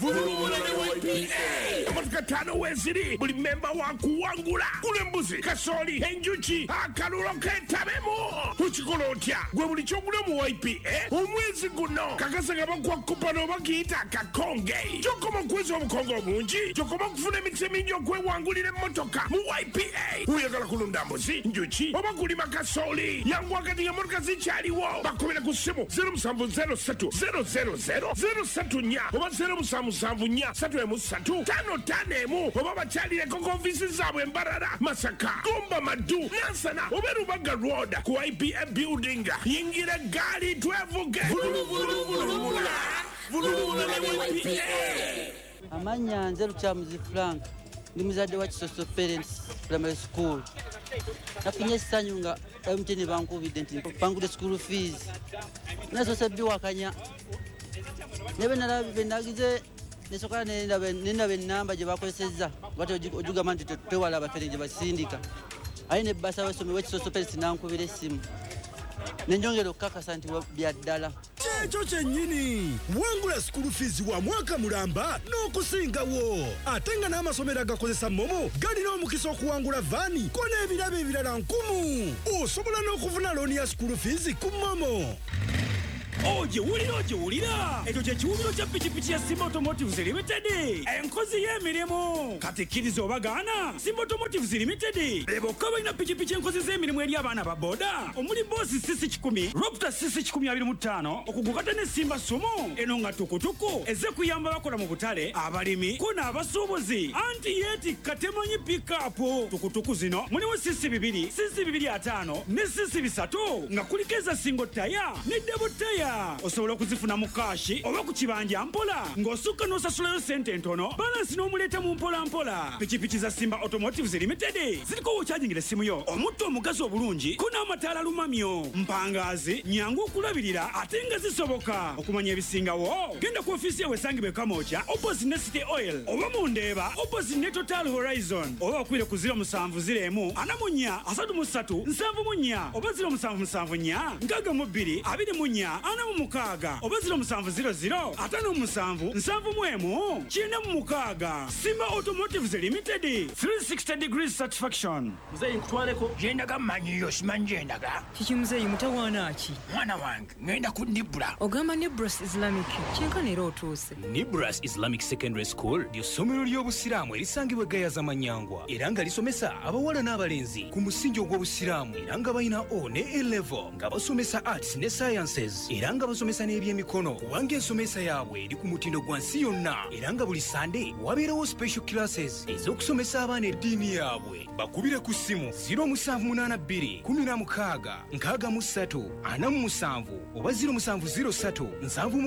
vulumula ne Y P A. Emotoka ttaano weeziri buli memba wa kuwangula. Gula embuzi, kasooli, enjuki, akalulo keetabemu. Okikola otya? Gwe buli ky'ogula mu Y P A omwezi guno kakasa nga bakuwa kupano oba kiyita akakonge. Gy'okoma okweza obukonge obungi, gy'okoma okufuna emikisa emingi okwewangulira emmotoka mu Y P A. Oyagala kulunda mbuzi, njuki oba kulima kasooli, yanguwa kati ng'emmotoka zikyaliwo. Bakubira ku ssimu zero musanvu zero ssatu zero zero zero zero ssatu nnya oba zero musanvu musanvu nnya ssatu emu ssatu ttaano ttaano emu oba bakyalireko ku ofiisi zaabwe Mbarara, Masaka, Gomba, Maddu, Nansana oba Rubaga Road ku Y P A building. Yingira eggaali twevuge. Vuluvuluvulumula vulumula ne Y P A. Amannya nze Lukyamuzi Frank, ndi muzadde wa Kisoso Parents Primary School. Nafunye essanyu nga M T N bankubidde nti mpangudde school fees. Nasoose biwakanya naye bwe nagize nesooka nendaba ennamba gye bakozesezza bati ogigamba nti twewala abafere gye basindika. Aye ne bbasa w'essomero w'Ekisoso Parents n'ankubira essimu ne njongera okukakasa nti bya ddala. Kyekyo kyennyini wangula school fees wa mwaka mulamba n'okusingawo, ate nga n'amasomero agakozesa MoMo galina omukisa okuwangula vaani ko n'ebirabo ebirala nkumu. Osobola n'okufuna looni ya school fees ku MoMo. Ogiwulira, ogiwulira, ekyo kye kiwubiro kya pikipiki ya Simba Automotives Limited, enkozi y'emirimu. Kati kkiriza obagaana, Simba Automotives Limited be bokka balina pikipiki enkozi z'emirimu eri abaana ba boda, omuli Boss C C kikumi, Raptor C C kikumi abiri mu ttaano, okugukata ne Simba Sumo eno nga tukutuku ezze kuyamba bakola mu butale, abalimi ko n'abasuubuzi, anti yeetikka temanyi pikapu. Tukutuku zino mulimu C C bibiri, C C bibiri ataano ne C C bisatu, nga kuliko eza single tyre ne double tyre. Osobola okuzifuna mu cash oba ku kibanja mpola, ng'osukka n'osasulayo sente entono, balance n'omuleeta mu mpola mpola. Pikipiki za Simba Automotives Limited ziriko wokyajingira essimu yo, omutto omugazi obulungi ko n'amataala lumamyo, mpangaazi, nyangu okulabirira ate nga zisoboka. Okumanya ebisingawo genda ku ofiisi yawe esangibwa e Kamwokya opposite ne City Oil, oba mu Ndeeba opposite ne Total Horizon, oba bakubire ku zero seven zero one four three three seven four oba zero seven seven four six two twenty-four oba zero seven zero zero fifty-seven seventy-one ninety-six. Simba Automotives Limited, three sixty degrees satisfaction. Muzeeyi, nkutwaleko gyendaga, mmanyiyo, simanyi gyendaga. Kiki muzeeyi, mutawaana ki? Mwana wange, ŋŋenda ku Nibra. Ogamba Nibras Islamic, kyenkana era otuuse. Nibras Islamic Secondary School ly'essomero ly'obusiraamu erisangibwa e Gayaza Manyangwa, era nga lisomesa abawala n'abalenzi ku musingi ogw'obusiraamu, era nga balina O ne A level, nga basomesa arts ne sciences, era nga basomesa n'ebyemikono, kubanga ensomesa yaabwe eri ku mutindo gwa nsi yonna, era nga buli Sande wabeerawo special classes ez'okusomesa abaana eddiini yaabwe. Bakubire ku ssimu zero seven eight two sixteen sixty-three forty-seven oba zero seven zero three seventy-six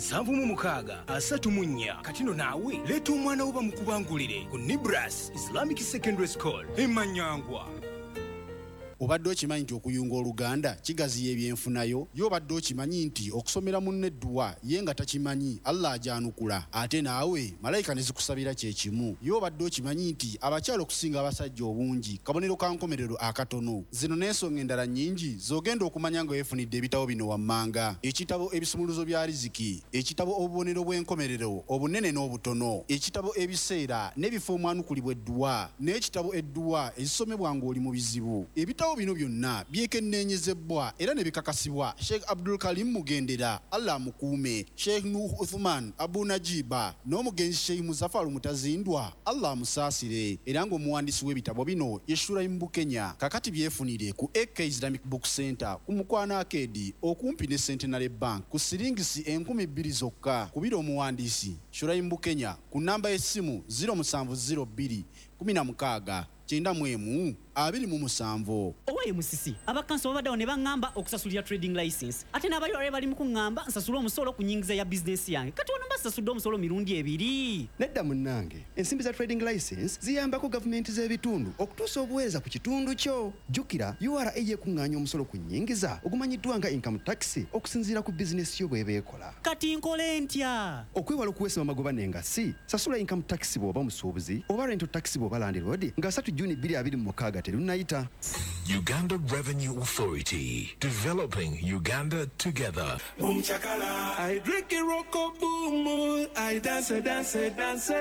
seventy-six thirty-four. Kati no naawe leeta omwana wo bamukubangulire ku Nibras Islamic Secondary School e Manyangwa. Obadde okimanyi nti okuyunga oluganda kigaziya ebyenfunayo? Ye obadde okimanyi nti okusomera munno edduwa ye nga takimanyi, Allah ajanukula, ate naawe malayika ne zikusabira kyekimu? Ye obadde okimanyi nti abakyala okusinga abasajja obungi kabonero ka nkomerero akatono? Zino n'ensonga endala nnyingi z'ogenda okumanya nga weefunidde ebitabo bino wammanga: ekitabo Ebisumuluzo bya Riziki, ekitabo Obubonero bw'Enkomerero Obunene n'Obutono, ekitabo Ebiseera n'Ebifo Omwanukulibwa Edduwa, n'ekitabo Edduwa Ezisomebwa Ng'oli mu Bizibu. Ebitabo bino byonna byekenneenyezebwa era ne bikakasibwa Sheikh Abdul Karim Mugendera, Allah amukuume, Sheikh Nuh Uthman Abu Najiba n'omugenzi Sheikh Muzafaru Mutazindwa, Allah amusaasire, era ng'omuwandiisi w'ebitabo bino ye Shuraim Bukenya. Kakati byefunire ku A K Islamic Book Center ku Mukwano Arcade okumpi ne Centenary Bank ku siringisi enkumi bbiri zokka. Kubira omuwandiisi Shuraim Bukenya ku namba y'essimu zero seven zero two sixteen ninety-one twenty-seven. Owaye musisi, abakanso babaddewo ne baŋŋamba okusasulira trading license, ate n'abayore bali mu kuŋŋamba nsasule omusolo ku nnyingiza ya bizinesi yange. Kati wano mbasasudde omusolo mirundi ebiri. Nedda munnange, ensimbi za trading license ziyambako gavumenti z'ebitundu okutuusa obuweereza ku kitundu kyo. Jjukira U R A yekuŋŋaanya omusolo ku nnyingiza ogumanyiddwa nga income tax okusinziira ku bizinesi yo bw'eba ekola. Kati nkole ntya? Okwewala okuweesebwa amagoba n'engassi, sasula income tax bw'oba musuubuzi oba rental tax bw'oba landlord nga asatu Juni twenty twenty-six terunnayita. Uganda Revenue Authority, developing Uganda together. Boom chakala. I drink a roko boom. I dance, dance, dance.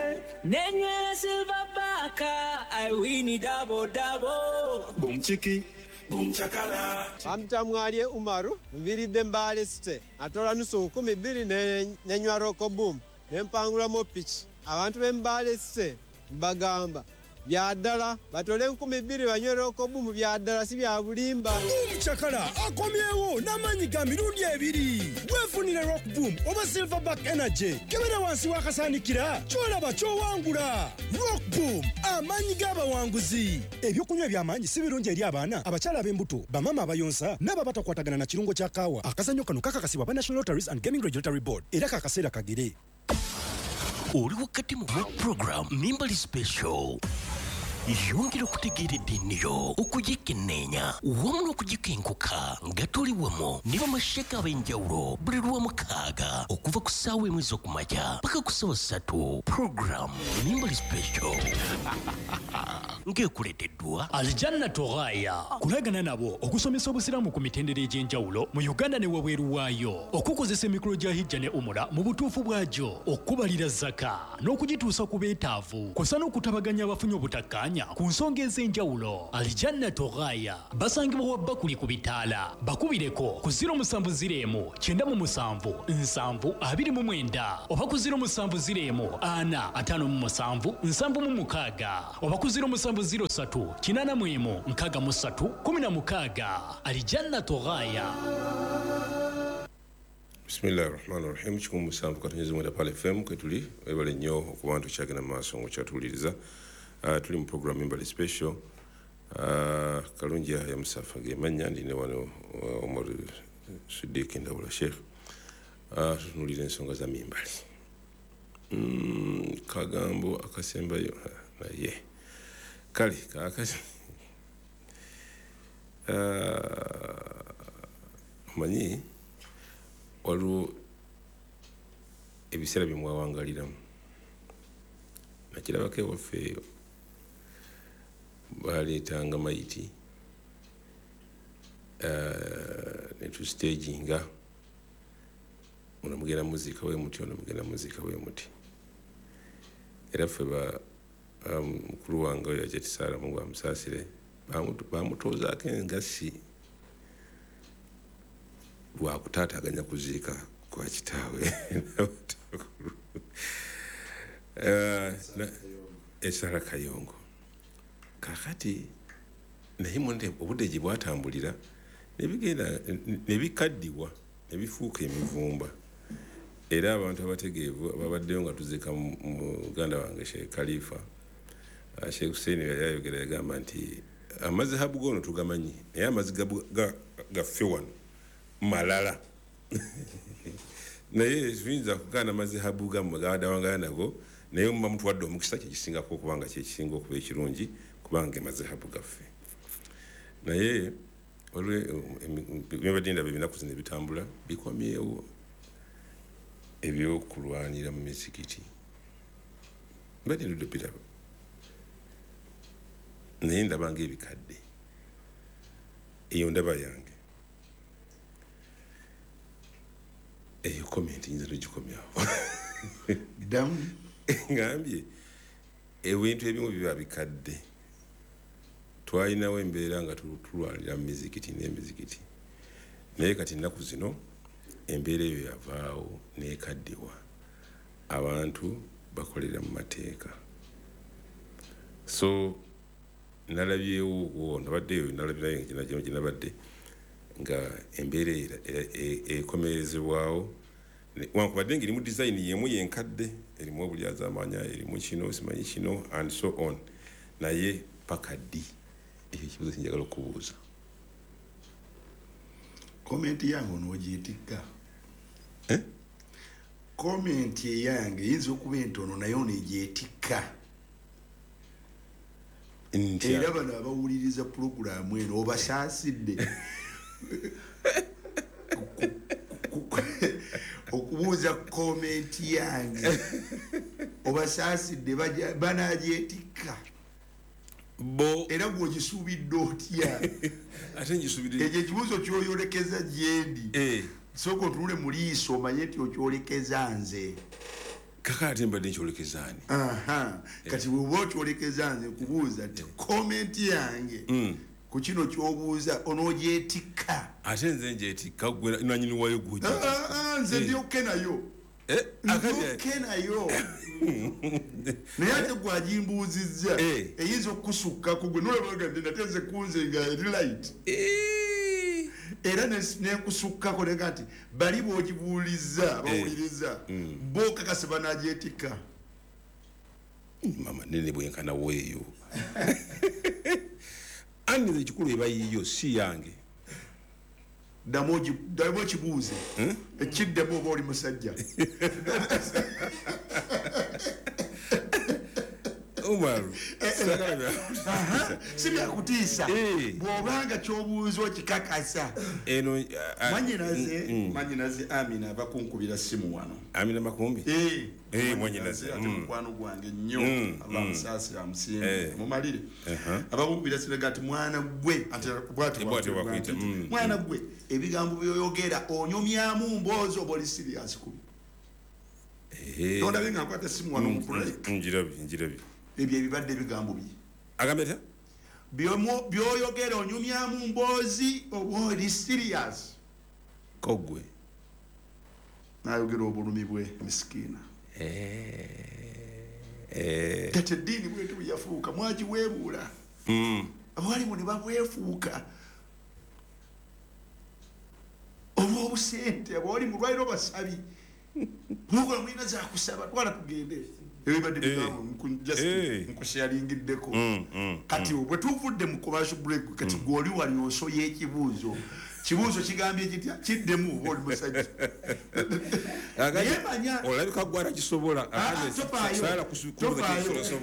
Nenywera Silver Baka, I win double double. Boom chiki. Boom chakala. Bamtamwalye Umaru, nviridde Mbale City. Atola nusu nkumi bbiri ne nenywa Roko Boom. Ne mpangulamu piki. Abantu b'e Mbale City mbagamba bya ddala batole enkumi bbiri banywe Roko Boom, bya ddala si bya bulimba. Boom Chakala akomyewo n'amaanyi ga mirundi ebiri. Weefunire Rock Boom oba Silverback Energy, kebera wansi w'akasaanikira, kyolaba ky'owangula. Rock Boom, amaanyi g'abawanguzi. Ebyokunywa eby'amaanyi si birungi eri abaana, abakyala ab'embuto, bamaama abayonsa n'abo abatakwatagana na kirungo kya kaawa. Akazannyo kano kakakasibwa ba National Lotteries and Gaming Regulatory Board, era kakaseera kagere. Oli wakati mu program Mimbali Special. Yongera okutegeera eddiini yo, okugikenneenya wamu n'okugikenkuka nga tuli wamu ne bamasheka ab'enjawulo buli Lwamukaaga okuva ku ssaawa emu ez'okumakya paka ku ssaawa ssatu. Program Mimbali Special ng'ekuleeteddwa Aljanna Toghaya, kulagana nabo okusomesa obusiraamu ku mitendera egy'enjawulo mu Uganda ne wabweru waayo, okukozesa emikolo gya hijja ne umura mu butuufu bwagyo, okubalira zaka n'okugituusa ku beetaavu, kw'ossa n'okutabaganya abafunye obutakkaanya. n'okumanya ku nsonga ez'enjawulo. Alijannatu Ghaya basangibwa wa Bakuli ku bitaala. Bakubireko ku ziro musanvu ziro emu kyenda mu musanvu nsanvu abiri mu mwenda oba ku ziro musanvu ziro emu ana ataano mu musanvu nsanvu mu mukaaga oba ku ziro musanvu ziro ssatu kinaana mu emu nkaaga mu ssatu kumi na mukaaga. Alijannatu Ghaya. Bismillahir Rahmanir Rahim. Kikumi musanvu katonyeza mwenda Pale F M kwetuli webale nnyo okuba nti okyagenda mu maaso ng'okyatuwuliriza. Uh, tuli mu program Embali Special. Uh, Kalungi ya Musafa ge mannya ndi ne wano uh, Omar Siddiq Ndawula Sheikh. Uh, tutunuulira ensonga za mimbali. Mm, kagambo akasembayo naye kale kaakati uh, omanyi waliwo ebiseera bye mwawangaliramu. Nakirabako ewaffe eyo baleetanga mayiti uh, ne tustaginga ono mugenda muziika we muti, ono mugenda muziika we muti. Era ffe ba mukulu wange oyo Hajati Sarah, Mungu amusaasire, bamutoozaako engassi lwakutaataaganya kuziika kwa kitaawe. Esala Kayongo. Kaakati naye monde obudde gye bwatambulira ne bigenda ne bikaddiwa ne bifuuka emivumba. Era abantu abategeevu ababaddeyo nga tuziika muganda wange Sheikh Khalifa, Sheikh Hussein yali ayogera yagamba nti amazihabu gono tugamanyi naye amazzi gaffe wano malala. Naye tuyinza kugaana amazihabu gammwe gabadawangala nago, naye muba mutuwadde omukisa kyekisingako okubanga kyekisinga okuba ekirungi kubanga amazihabu gaffe. Naye byebadde ndaba ebinaku zino ebitambula bikomyewo ebyokulwanira mu mizikiti. Mbadde ndudde biraba naye ndaba ng'ebikadde. Eyo ndaba yange. Eyo comment nyinza togikomyawo. Ddamu. Ngambye ebintu ebimu biba bikadde. Twalinawo embeera nga tulwanira mu mizikiti n'emizikiti, naye kati ennaku zino embeera eyo yavaawo n'ekaddiwa. Abantu bakolera mu mateeka. So nalabyewo nabaddeyo nalabirayo gye nabadde nga embeera ekomerezebwawo wankubadde ng'erimu design y'emu yenkadde, erimu obulyazaamaanya, erimu kino simanyi kino and so on, naye paka ddi? Ekyo ekibuuzo kinjagala okubuuza. Komenti yange onoogitikka. Komenti eyange eyinza okuba entono naye onegyetikka. Era bano abawuliriza pulogulaamu eno obasaasidde okubuuza komenti yange, obasaasidde banagyetikka. Bo era gw'ogisuubidde otya? Ate ngisuubidde ekyo ekibuuzo ky'oyolekeza gyendi. Sooka otunule mu liiso omanye nti okyolekeza nze. Kaka ate mbadde nkyolekeza ani? Kati bw'oba okyolekeza nze nkubuuza nti komenti yange ku kino ky'obuuza onoogyetikka. Ate nze ngyetikka gwe nannyini waayo gw'ogyetikka. Nze ndyokke nayo. Ndyokke nayo. Naye ate gw'agimbuuzizza eyinza okukusukkako gwe nolaba nti nate nze kunze nga eri light. Era nenkusukkako nega nti bali bw'ogibuulizza bawuliriza bo kakase banagyetikka. Mama nene bwenkana weeyo. Anni nze ekikulu eba yiyo si yange. Ddamu okibuuze ekiddemu oba oli musajja. Umaru, si byakutiisa bw'obanga ky'obuuza okikakasa. Mwanyinaze mwanyinaze Amina ava kunkubira simu wano. Amina Makumbi? Eh, mwanyinaze ate mukwano gwange nnyo, Allah amusaasire amusiime mumalire. Ava kunkubira simu ati mwana gwe, ati bw'ati bw'akwita mwana gwe, ebigambo by'oyogera onyumyamu mboozi oba oli serious ku. Tondabye nga nkwata simu wano mu break. Njirabye njirabye. Ebyo ebibadde ebigambo bye. Agambye atya? Byoyogera onyumyamu mboozi oba oli serious? Kogwe nayogera obulumi bwe misikiina. Kati eddiini bwetu bwe yafuuka mwagiweebuula, abawalimu ne babwefuuka olw'obusente. Abawalimu lwaliro basabi mukola mulina zakusaba, twala tugende. Ebibadde bigambo nkusharingiddeko. Kati bwe tuvudde mu commercial break, kati gwoli wali osoye ekibuuzo. Kibuuzo kigambye kitya? Kiddemu oba oli musajja. Olabika gwala kisobola.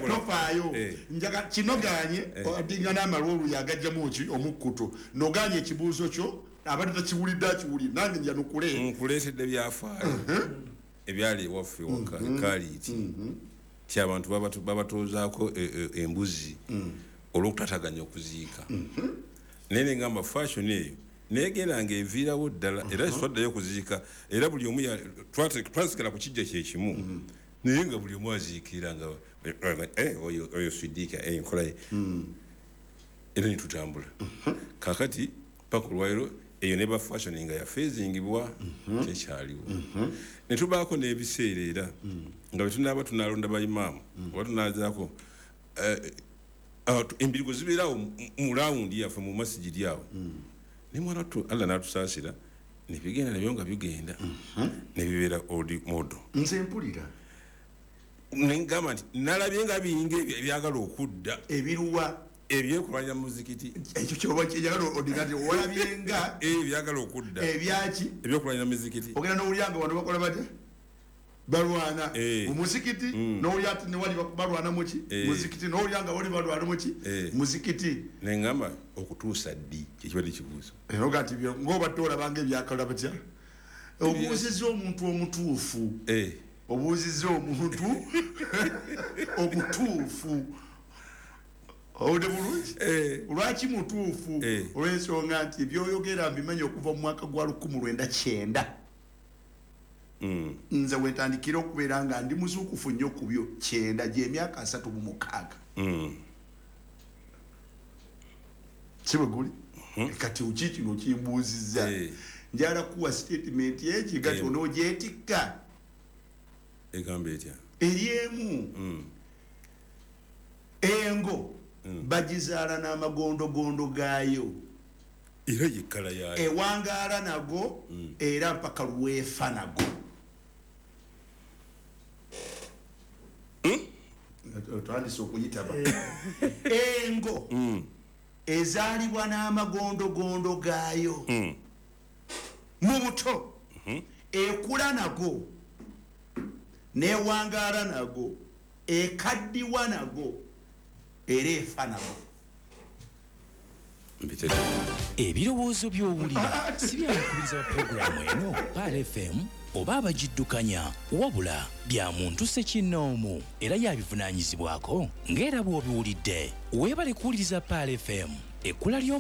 Tofaayo. Njaga kinoganye adinga n'amalwolu yagajjamu ki omukkuto. Noganye ekibuuzo kyo abadde takiwulidde akiwulire nange njanukule. Nkuleetedde byafaayo ebyali ewaffe waka Kaliiti ti abantu babatoozaako embuzi olw'okutataganya okuziika. Naye nengamba fashion eyo negenda nga eviirawo ddala, era twaddayo okuziika, era buli omu twasigala ku kijja kyekimu, naye nga buli omu aziikira nga oyo Sidiika enkola ye, era netutambula. Kakati paka olwaliro eyo neba fashion nga yafeezingibwa kyekyaliwo. Ne tubaako n'ebiseera era nga bwe tunaaba tunalonda bayimaamu oba tunazaako embirigo zibeerawo mu rawundi yaffe mu masigiri awo. Ne mwana tu Allah n'atusaasira ne bigenda nabyo nga bigenda ne bibeera old model. Nze mpulira nengamba nti nalabye nga bingi ebyagala okudda ebiruwa ebyekulwanya muzikiti. Ekyo kyoba kyeyagala odinati olabye nga ebyagala okudda ebyaki ebyokulwanya muzikiti. Ogenda n'owulira nga wano bakola batya balwana mu muzikiti, n'owulira ati newali balwana muki muzikiti, n'owulira nga wali balwana muki muzikiti. Nengamba okutuusa ddi kyekibadde kibuuzo. Era oga nti ng'obadde olabanga ebyakala batya. Obuuzizza omuntu omutuufu, obuuzizza omuntu omutuufu. Owulidde bulungi? Lwaki mutuufu? Olw'ensonga nti ebyoyogera mbimanyi okuva mu mwaka gwa lukumi lwenda kyenda. Nze wetandikira okubeera nga ndi muzuukufu nnyo ku byo kyenda gy'emyaka asatu mu mukaaga. Si bwe guli? Kati ki kino kimbuuzizza? Njagala kuwa statement egi kati onoogyetikka. Egamba etya? Eri emu. Engo bagizaala n'amagondogondo gaayo. Era yekkala yaayo. Ewangaala nago era mpaka lwefa nago. Otandise okuyitaba. Engo ezaalibwa n'amagondogondo gaayo mu buto, ekula nago, newangaala nago, ekaddiwa nago, era efa nago. Ebirowoozo by'owulira si byabakubiriza ba pulogulaamu eno Pearl F M oba abagiddukanya, wabula bya muntu ssekinnoomu era yabivunaanyizibwako ng'era bw'obiwulidde. Weebale kuwuliriza Pearl F M, ekkula ly'omu